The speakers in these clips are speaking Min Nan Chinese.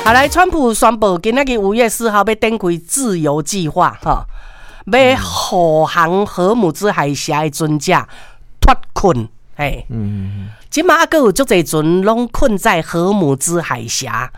好來，川普宣布今仔日5月4號欲展開自由計劃，吼，欲護航荷姆茲海峽的船隻脫困，嘿。這馬猶閣有足濟船攏困在荷姆茲海峽，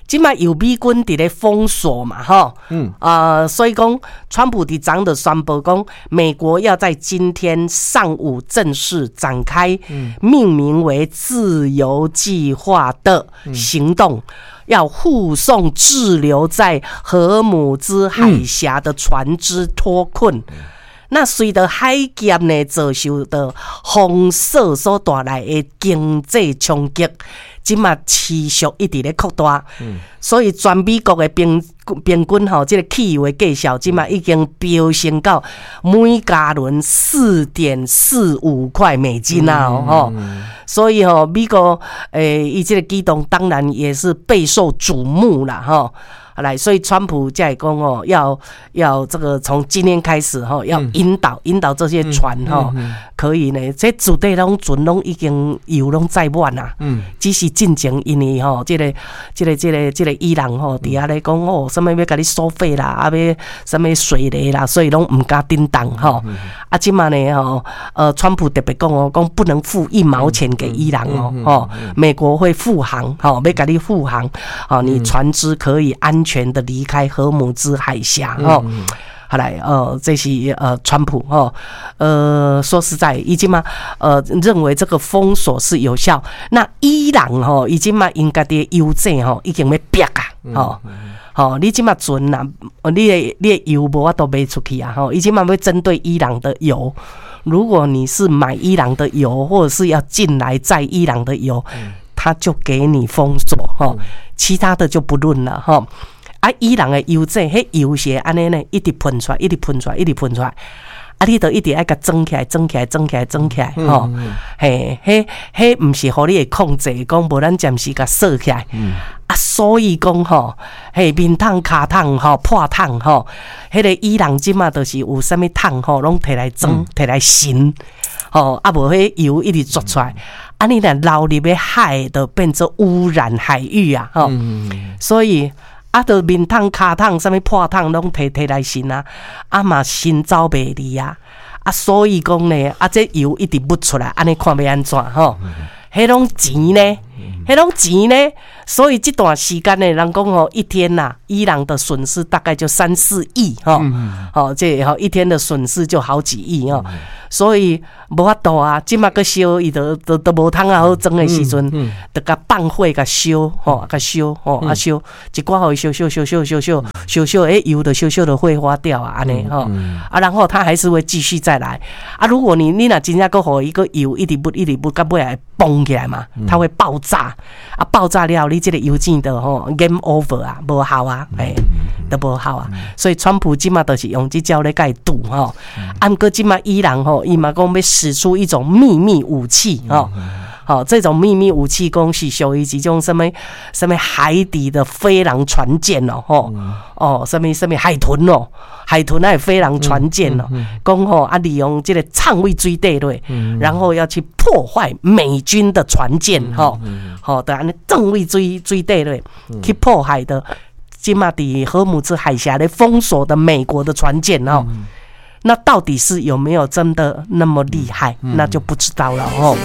這馬有美軍佇咧封鎖嘛，吼。啊，所以講，川普佇昨就宣布講，美國要在今天上午正式展開命名為“自由計劃”的行動，要護送滯留在荷姆茲海峽的船隻脫困。那隨著海劫呢，遭受著封鎖所帶來的經濟衝擊，這馬持續一直咧擴大。所以全美國的平均吼，這個汽油的價數，這馬已經飆升到每加侖4.45塊美金啊！吼，所以吼，美國伊這個舉動當然也是備受矚目啦，吼。來，所以川普才會講哦，要這個從今天開始吼，要引導這些船吼，可以呢，這絕對攏船攏已經油攏載滿啦。只是進前因為吼，這個伊朗吼，佇遐咧講哦，啥物欲共你收費啦，啊欲啥物稅咧啦，所以攏毋敢振動吼。啊，這馬呢吼，川普特別講哦，講不能付一毛錢給伊朗哦，吼，美國會護航，吼，欲共你護航，吼，你船隻可以安全的離開荷姆茲海峽，吼。好來，這是川普，吼，說實在，伊這馬認為這個封鎖是有效。那伊朗吼，伊這馬𪜶家己的油井吼，已經欲煏啊，吼，吼，你這馬船啊，你的油無法度賣出去啊，吼，伊這馬欲針對伊朗的油。如果你是買伊朗的油，或者是要進來載伊朗的油，他就給你封鎖，吼，其他的就不論了，吼。啊，伊朗的油井，彼油是按呢呢，一直噴出來，一直噴出來，一直噴出來。啊，你著一直愛共裝起來，裝起來，裝起來，裝起來，吼，嘿，彼彼毋是予你會控制，講無咱暫時共鎖起來。啊，所以講吼，彼面桶、跤桶吼、破桶吼，彼個伊朗這馬就是有啥物桶吼，攏提來裝，提來盛，吼，啊無彼油一直啜出來。啊，你若流入去海，就變做污染海域啊，吼，所以。啊，著面桶、跤桶、啥物破桶，攏提來盛啊！啊嘛，盛走袂離啊！啊，所以講呢，啊，這油一直噴出來，按呢看欲按怎吼？彼攏錢呢？彼攏錢呢？所以這段時間呢，人講吼，一天吶，伊朗的損失大概就三四億吼，吼，這吼一天的損失就好幾億哦。所以無法度啊，這馬閣燒，伊都無通啊好裝的時陣，就共放火共燒吼，共燒吼，啊燒一寡予伊燒燒燒燒燒燒燒燒，欸，油就燒燒就揮發掉啊，按呢吼，啊，然後它還是會繼續再來啊。如果你若真正閣予伊閣油一直噴一直噴，到尾會崩起來嘛，它會爆炸啊！爆炸了，你這個油井就吼 game over 啊，無效啊，欸，都無效啊。所以川普這馬就是用這招咧共伊堵吼。啊，毋過這馬伊朗吼，伊嘛講欲使出一種秘密武器吼。好，這種秘密武器講是屬於一種啥物啥物海底的飛狼船艦哦，吼哦，啥物啥物海豚哦，海豚抑飛狼船艦哦，講吼啊，利用這個藏佇水底內，然後要去破壞美軍的船艦，吼，吼，就按呢藏佇水底內去破壞的，這馬佇荷姆茲海峽咧封鎖的美國的船艦哦。那到底是有沒有真的那麼厲害？那就不知道了哦。